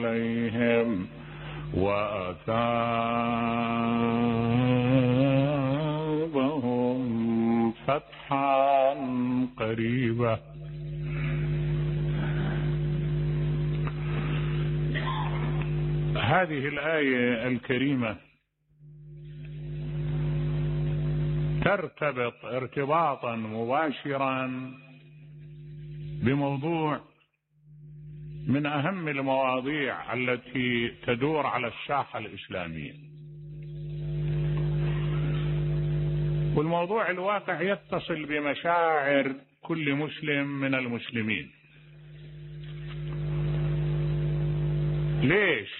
عليهم وأثابهم فتحا قريبا. هذه الآية الكريمة ترتبط ارتباطا مباشرا بموضوع من أهم المواضيع التي تدور على الساحة الإسلامية، والموضوع الواقع يتصل بمشاعر كل مسلم من المسلمين. ليش؟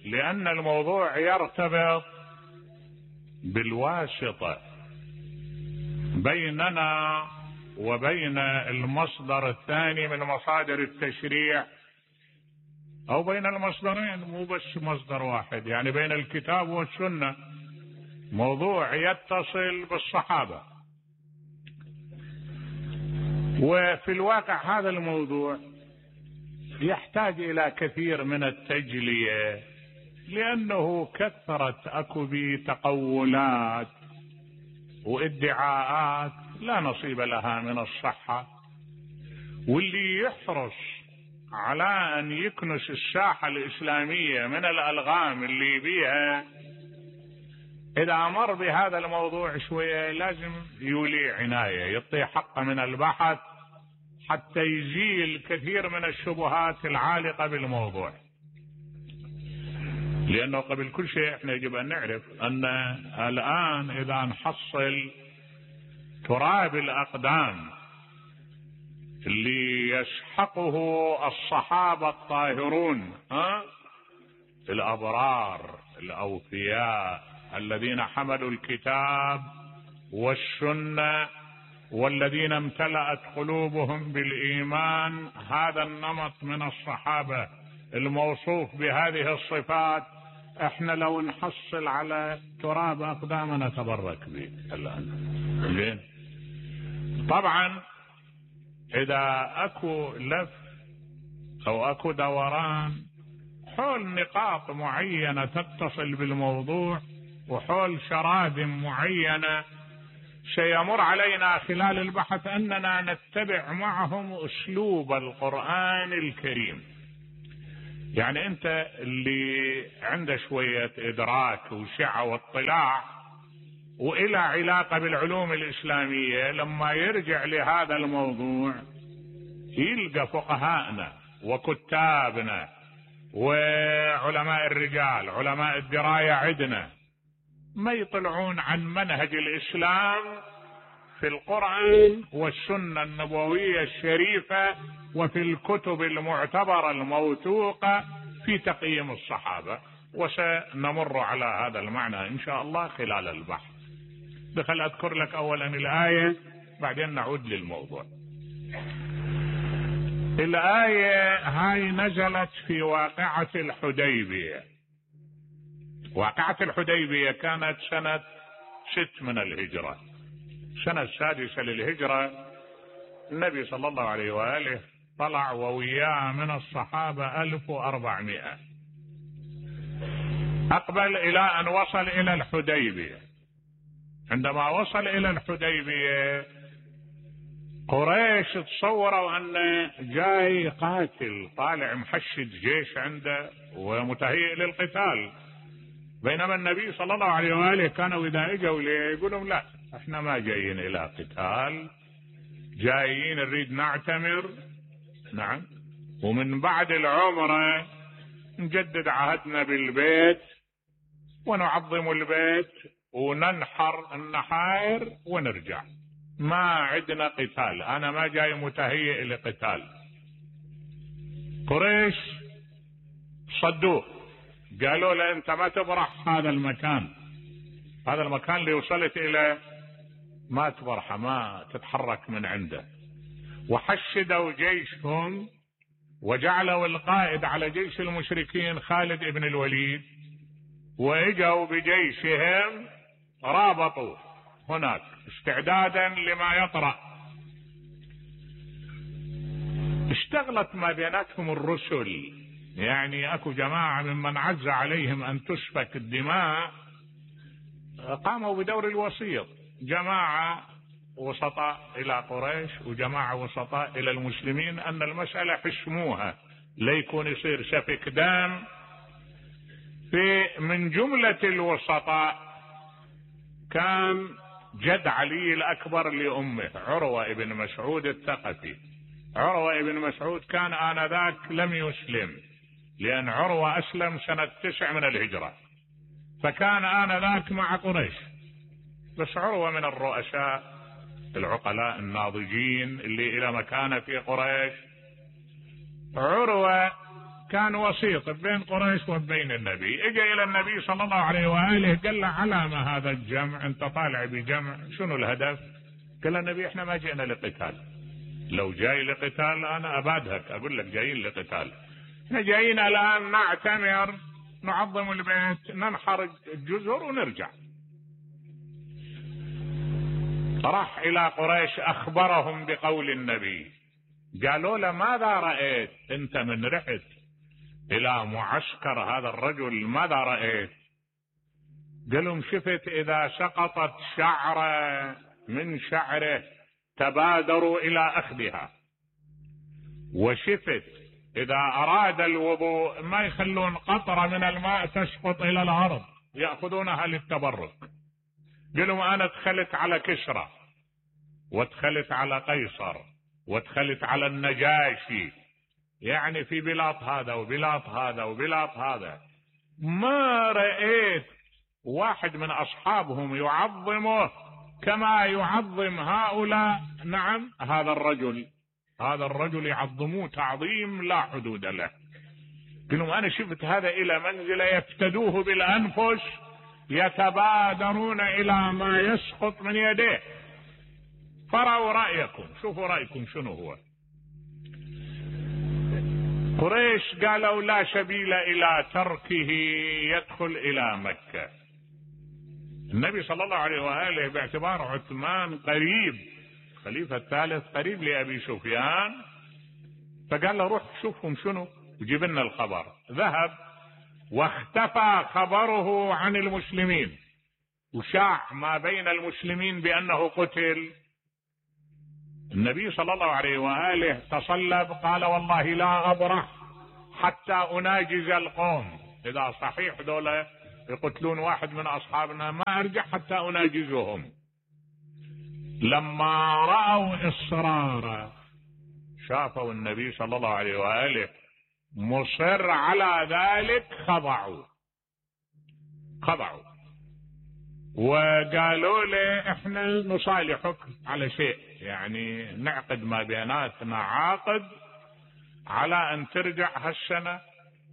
لأن الموضوع يرتبط بالواسطة بيننا وبين المصدر الثاني من مصادر التشريع، أو بين المصدرين، مو بس مصدر واحد، يعني بين الكتاب والسنة. موضوع يتصل بالصحابة، وفي الواقع هذا الموضوع يحتاج إلى كثير من التجلية، لأنه كثرت أكو بتقولات وادعاءات لا نصيب لها من الصحة، واللي يحرص على أن يكنس الساحة الإسلامية من الألغام اللي بيها إذا مر بهذا الموضوع شوية لازم يولي عناية، يعطي حقه من البحث حتى يزيل كثير من الشبهات العالقة بالموضوع. لأنه قبل كل شيء احنا يجب أن نعرف أن الآن إذا نحصل تراب الأقدام اللي يسحقه الصحابة الطاهرون، الأبرار الأوفياء الذين حملوا الكتاب والسنة والذين امتلأت قلوبهم بالإيمان، هذا النمط من الصحابة الموصوف بهذه الصفات احنا لو نحصل على تراب أقدامنا نتبرك به الآن. زين، طبعا إذا أكو لف أو أكو دوران حول نقاط معينة تتصل بالموضوع وحول شرائح معينة، سيمر علينا خلال البحث أننا نتبع معهم أسلوب القرآن الكريم. يعني أنت اللي عنده شوية إدراك وسعة واطلاع وإلى علاقة بالعلوم الإسلامية، لما يرجع لهذا الموضوع يلقى فقهاءنا وكتابنا وعلماء الرجال علماء الدراية عندنا ما يطلعون عن منهج الإسلام في القرآن والسنة النبوية الشريفة وفي الكتب المعتبرة الموثوقة في تقييم الصحابة، وسنمر على هذا المعنى إن شاء الله خلال البحث. بخل أذكر لك أولا الآية بعدين نعود للموضوع. الآية هاي نزلت في واقعة الحديبية. واقعة الحديبية كانت سنة 6 من الهجرة، سنة 6 للهجرة. النبي صلى الله عليه وآله طلع ووياه من الصحابة 1400، أقبل إلى أن وصل إلى الحديبية. عندما وصل إلى الحديبية قريش تصوروا أنه جاي قاتل طالع محشد جيش عنده ومتهيئ للقتال، بينما النبي صلى الله عليه وآله كانوا إذا اجوا يقولون لا احنا ما جايين إلى قتال، جايين نريد نعتمر، نعم، ومن بعد العمرة نجدد عهدنا بالبيت ونعظم البيت وننحر النحائر ونرجع، ما عندنا قتال، أنا ما جاي متهيئ لقتال. قريش صدوه، قالوا له أنت ما تبرح هذا المكان، هذا المكان اللي وصلت إلى ما تبرحه، ما تتحرك من عنده. وحشدوا جيشهم وجعلوا القائد على جيش المشركين خالد بن الوليد، وإجوا بجيشهم رابطوا هناك استعدادا لما يطرأ. اشتغلت ما بيناتهم الرسل يعني اكو جماعة ممن عز عليهم ان تسفك الدماء قاموا بدور الوسيط، جماعة وسطاء الى قريش وجماعة وسطاء الى المسلمين ان المسألة حسموها ليكون يصير سفك دم. في من جملة الوسطاء كان جد علي الأكبر لأمه عروة ابن مسعود الثقفي. عروة ابن مسعود كان آنذاك لم يسلم، لأن عروة أسلم سنة 9 من الهجرة، فكان آنذاك مع قريش. بس عروة من الرؤساء العقلاء الناضجين اللي إلى مكانة في قريش. عروة كان وسيط بين قريش وبين النبي. اجى الى النبي صلى الله عليه وآله قال له على ما هذا الجمع؟ انت طالع بجمع، شنو الهدف؟ قال النبي احنا ما جئنا لقتال، لو جاي لقتال انا ابادهك اقول لك جايين لقتال، احنا جايين الان نعتمر، نعظم البيت، ننحر الجزر ونرجع. راح الى قريش اخبرهم بقول النبي، قالوا له ماذا رأيت انت من رحت الى معسكر هذا الرجل؟ ماذا رأيت؟ قالوا شفت اذا سقطت شعرة من شعره تبادروا الى اخذها، وشفت اذا اراد الوضوء ما يخلون قطرة من الماء تسقط الى الارض يأخذونها للتبرك. قالوا انا دخلت على كسرى ودخلت على قيصر ودخلت على النجاشي، يعني في بلاط هذا وبلاط هذا وبلاط هذا، ما رأيت واحد من أصحابهم يعظمه كما يعظم هؤلاء. نعم هذا الرجل يعظموه تعظيم لا حدود له. قالوا أنا شفت هذا إلى منزل يفتدوه بالأنفس، يتبادرون إلى ما يسقط من يديه. فرأوا رأيكم، شوفوا رأيكم شنو هو. قريش قالوا لا سبيل إلى تركه يدخل إلى مكة. النبي صلى الله عليه وآله باعتبار عثمان قريب، خليفة الثالث قريب لأبي سفيان، فقال له روح شوفهم شنو وجيب لنا الخبر. ذهب واختفى خبره عن المسلمين، وشاع ما بين المسلمين بأنه قتل. النبي صلى الله عليه وآله تصلب، قال والله لا أبرح حتى أناجز القوم، إذا صحيح دولة يقتلون واحد من أصحابنا ما أرجع حتى أناجزهم. لما رأوا إصراره، شافوا النبي صلى الله عليه وآله مصر على ذلك، خضعوا وقالوا له احنا نصالحك على شيء، يعني نعقد ما بيناتنا عقد على ان ترجع هالسنة،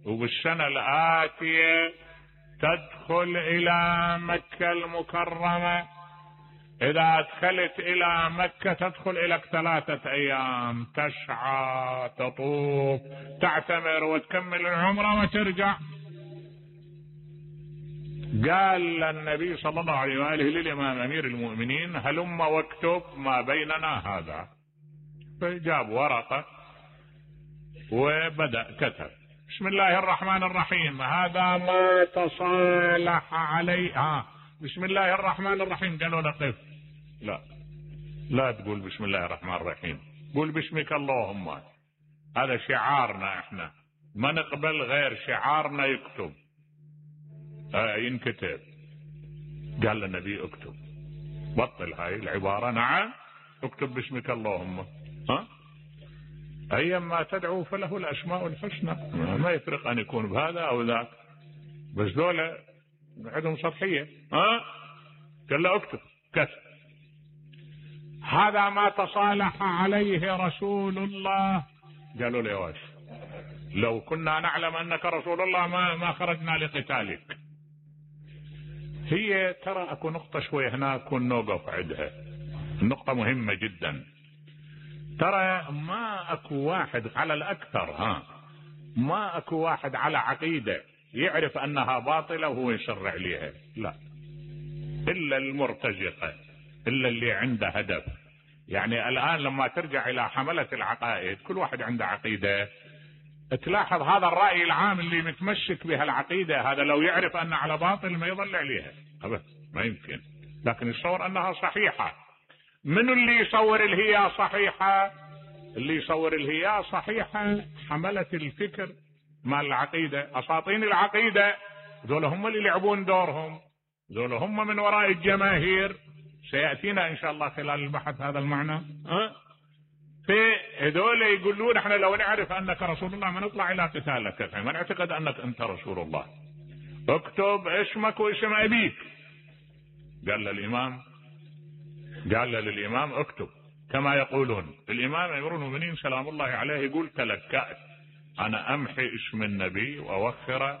وبالسنة الآتية تدخل الى مكة المكرمة. اذا دخلت الى مكة تدخل الى 3 ايام، تسعى تطوف تعتمر وتكمل العمرة وترجع. قال النبي صلى الله عليه وآله للإمام أمير المؤمنين هلم واكتب ما بيننا هذا. فجاب ورقة وبدأ كتب بسم الله الرحمن الرحيم، هذا ما تصالح عليه. بسم الله الرحمن الرحيم. قالوا له قف، لا تقول بسم الله الرحمن الرحيم، قول باسمك اللهم، هذا شعارنا، احنا ما نقبل غير شعارنا يكتب ينكتب. قال النبي اكتب، بطل هاي العبارة. نعم اكتب باسمك اللهم، ايما تدعو فله الاسماء الحسنى، ما يفرق ان يكون بهذا او ذاك، بس دولة عندهم سطحية. قال له اكتب، كتب هذا ما تصالح عليه رسول الله. قالوا له واش، لو كنا نعلم انك رسول الله ما خرجنا لقتالك. هي ترى اكو نقطة شوي هناك ونوقف عندها، النقطة مهمة جدا. ترى ما اكو واحد على الاكثر، ما اكو واحد على عقيدة يعرف انها باطلة وهو يصر عليها، لا، الا المرتزقة، الا اللي عنده هدف. يعني الان لما ترجع الى حملة العقائد كل واحد عنده عقيدة تلاحظ هذا الرأي العام اللي متمسك بها العقيدة، هذا لو يعرف أن على باطل ما يظل عليها أبدا، ما يمكن، لكن يصور أنها صحيحة. من اللي يصور الهي صحيحة؟ اللي يصور الهي صحيحة حملة الفكر مال العقيدة، أساطين العقيدة، ذول هم اللي يلعبون دورهم، ذول هم من وراء الجماهير. سيأتينا إن شاء الله خلال البحث هذا المعنى. فهذول يقولون احنا لو نعرف أنك رسول الله ما نطلع إلى قتالك، ما نعتقد أنك أنت رسول الله، اكتب اسمك واسم أبيك. قال للإمام اكتب كما يقولون. الإمام أمير المؤمنين سلام الله عليه يقول تلكأت أنا أمحي اسم النبي وأوخره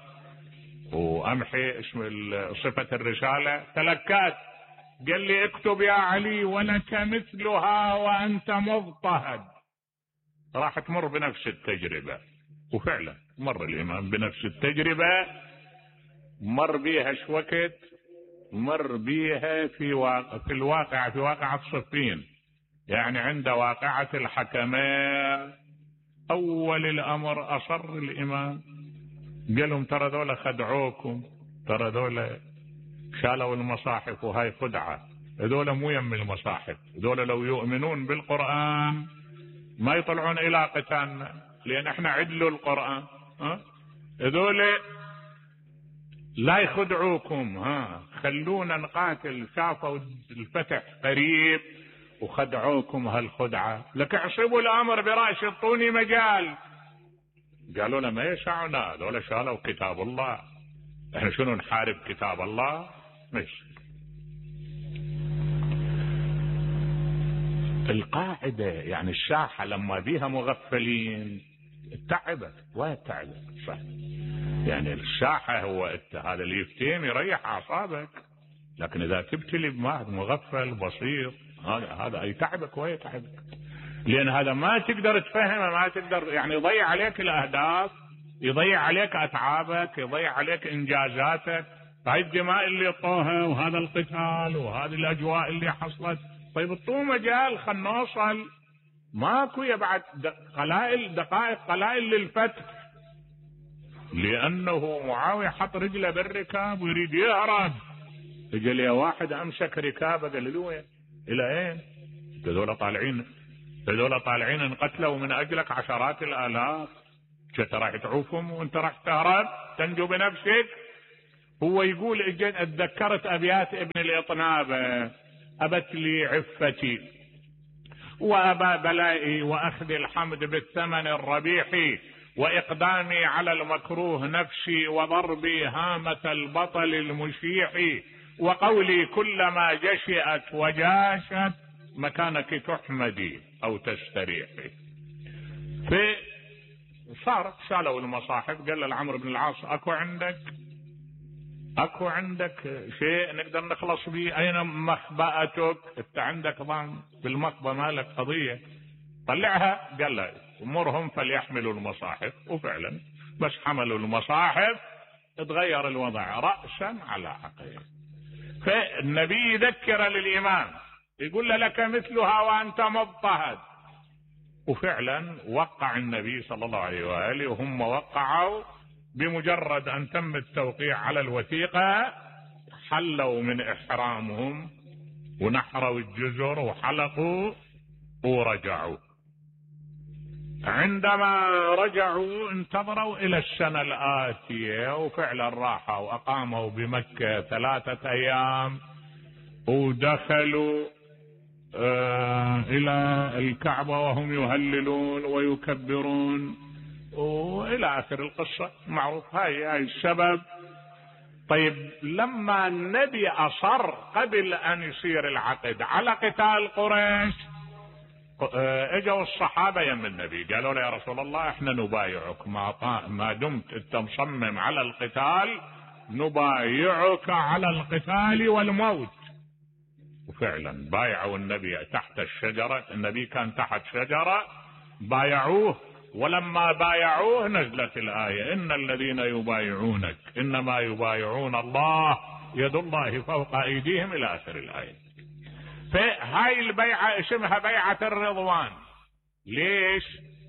وأمحي اسم صفة الرسالة، تلكأت. قال لي اكتب يا علي ولك مثلها وأنت مضطهد. راح تمر بنفس التجربة، وفعلا مر الإمام بنفس التجربة، مر بيها شوكت، مر بيها في الواقع، في واقعة صفين، يعني عند واقعة الحكمين. أول الأمر أصر الإمام، قال لهم ترى ذولا خدعوكم، ترى ذولا شالوا المصاحف وهاي خدعة، ذولا مو يم المصاحف، ذولا لو يؤمنون بالقرآن ما يطلعون إلى قتالنا، لأن احنا عدلوا القرآن. ذولا لا يخدعوكم، خلونا نقاتل، شافوا الفتح قريب وخدعوكم هالخدعة، لك اعصبوا الأمر برأس اعطوني مجال. قالوا له ما يسعنا، ذولا شالوا كتاب الله، احنا شنو نحارب كتاب الله؟ ماشي. القاعدة يعني الساحة لما بيها مغفلين تعبت وتعبت، صح؟ يعني الساحة هو هذا اللي يفتهم يريح أعصابك، لكن إذا تبتلي بواحد مغفل بسيط هذا يتعبك ويتعبك، لأن هذا ما تقدر تفهمه، ما تقدر، يعني يضيع عليك الأهداف، يضيع عليك أتعابك، يضيع عليك إنجازاتك. هاي الدماء اللي طوها وهذا القتال وهذه الأجواء اللي حصلت، طيب اعطوه مجال خلنا نوصل، ماكو يبعد دقائق قلائل للفتح، لأنه معاوية حط رجله بالركاب ويريد يهرب، اجى لي واحد أمسك ركابه قال له وين؟ إلى أين؟ هذول طالعين انقتلوا من أجلك عشرات الآلاف، انت راح تعوفهم وانت راح تهرب تنجو بنفسك؟ هو يقول اتذكرت أبيات ابن الإطنابة، أبت لي عفتي وأبى بلائي وأخذ الحمد بالثمن الربيح، وإقدامي على المكروه نفسي وضربي هامة البطل المشيح، وقولي كلما جشئت وجاشت مكانك تحمدي أو تستريحي. فصار شالوا المصاحف، قال لعمرو بن العاص اكو عندك شيء نقدر نخلص به؟ اين مخبأتك؟ انت عندك ضان بالمخبأ مالك قضية، طلعها. قال له امرهم فليحملوا المصاحف، وفعلا بس حملوا المصاحف تغير الوضع رأسا على عقب. فالنبي يذكر للإمام يقول له لك مثلها وأنت مضطهد، وفعلا وقع النبي صلى الله عليه وآله، وهم وقعوا بمجرد أن تم التوقيع على الوثيقة حلوا من إحرامهم ونحروا الجزر وحلقوا ورجعوا. عندما رجعوا انتظروا إلى السنة الآتية، وفعلا راحوا وأقاموا بمكة 3 أيام، ودخلوا إلى الكعبة وهم يهللون ويكبرون وإلى آخر القصة معروف. هاي السبب. طيب لما النبي أصر قبل أن يصير العقد على قتال قريش، اجوا الصحابة يم النبي قالوا له يا رسول الله احنا نبايعك ما دمت انت مصمم على القتال، نبايعك على القتال والموت. وفعلا بايعوا النبي تحت الشجرة، النبي كان تحت شجرة بايعوه، ولما بايعوه نزلت الآية إن الذين يبايعونك إنما يبايعون الله يد الله فوق أيديهم إلى آخر الآية. فهاي البيعة اسمها بيعة الرضوان. ليش؟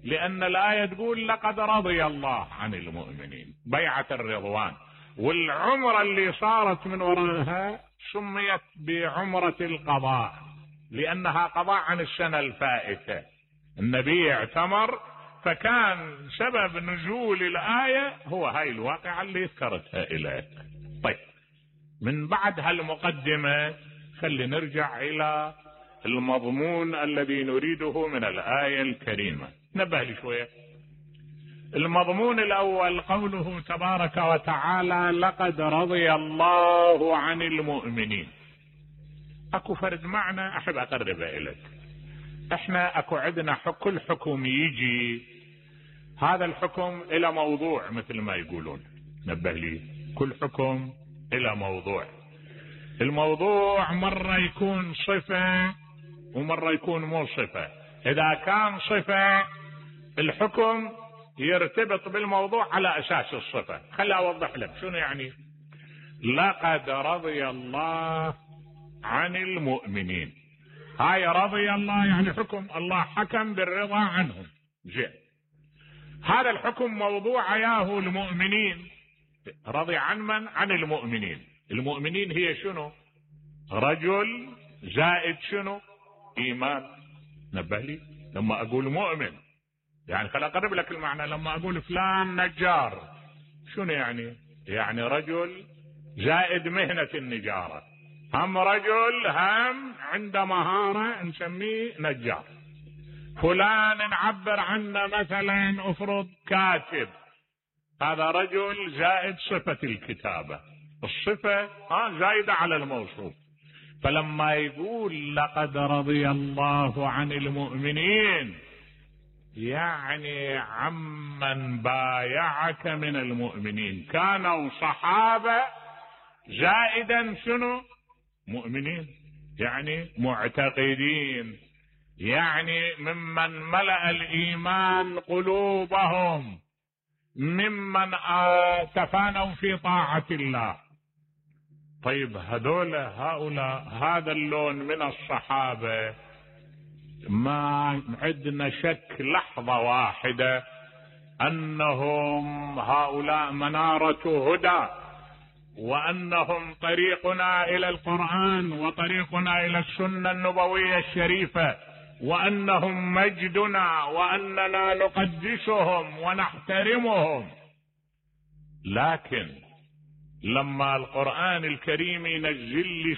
لأن الآية تقول لقد رضي الله عن المؤمنين، بيعة الرضوان، والعمرة اللي صارت من وراءها سميت بعمرة القضاء لأنها قضاء عن السنة الفائتة. النبي اعتمر، فكان سبب نزول الآية هو هاي الواقعة اللي ذكرتها إليك. طيب، من بعد هالمقدمة خلي نرجع إلى المضمون الذي نريده من الآية الكريمة. نبه لي شوية. المضمون الأول قوله تبارك وتعالى لقد رضي الله عن المؤمنين. اكو فرد معنى احب اقربه اليك. احنا اكو عندنا كل حكم يجي هذا الحكم الى موضوع مثل ما يقولون. نبه لي، كل حكم الى موضوع. الموضوع مرة يكون صفة ومرة يكون مو صفة. اذا كان صفة الحكم يرتبط بالموضوع على اساس الصفة. خلي اوضح لك شنو يعني لقد رضي الله عن المؤمنين. هاي رضي الله يعني حكم الله حكم بالرضا عنهم. زين، هذا الحكم موضوع عياه المؤمنين. رضي عن من؟ عن المؤمنين. المؤمنين هي شنو؟ رجل زائد شنو؟ ايمان. نبه لي، لما اقول مؤمن يعني خل اقرب لك المعنى. لما اقول فلان نجار شنو يعني؟ يعني رجل زائد مهنة النجارة، هم رجل هم عنده مهارة نسميه نجار. فلان نعبر عنه مثلا افرض كاتب، هذا رجل زائد صفة الكتابة. الصفة زايدة على الموصوف. فلما يقول لقد رضي الله عن المؤمنين يعني عمن بايعك من المؤمنين، كانوا صحابة زائدا شنو؟ مؤمنين، يعني معتقدين، يعني ممن ملأ الإيمان قلوبهم، ممن تفانوا في طاعة الله. طيب هؤلاء هذا اللون من الصحابة ما عندنا شك لحظة واحدة أنهم هؤلاء منارة هدى، وأنهم طريقنا إلى القرآن وطريقنا إلى السنة النبوية الشريفة، وأنهم مجدنا، وأننا نقدسهم ونحترمهم. لكن لما القرآن الكريم ينزل لي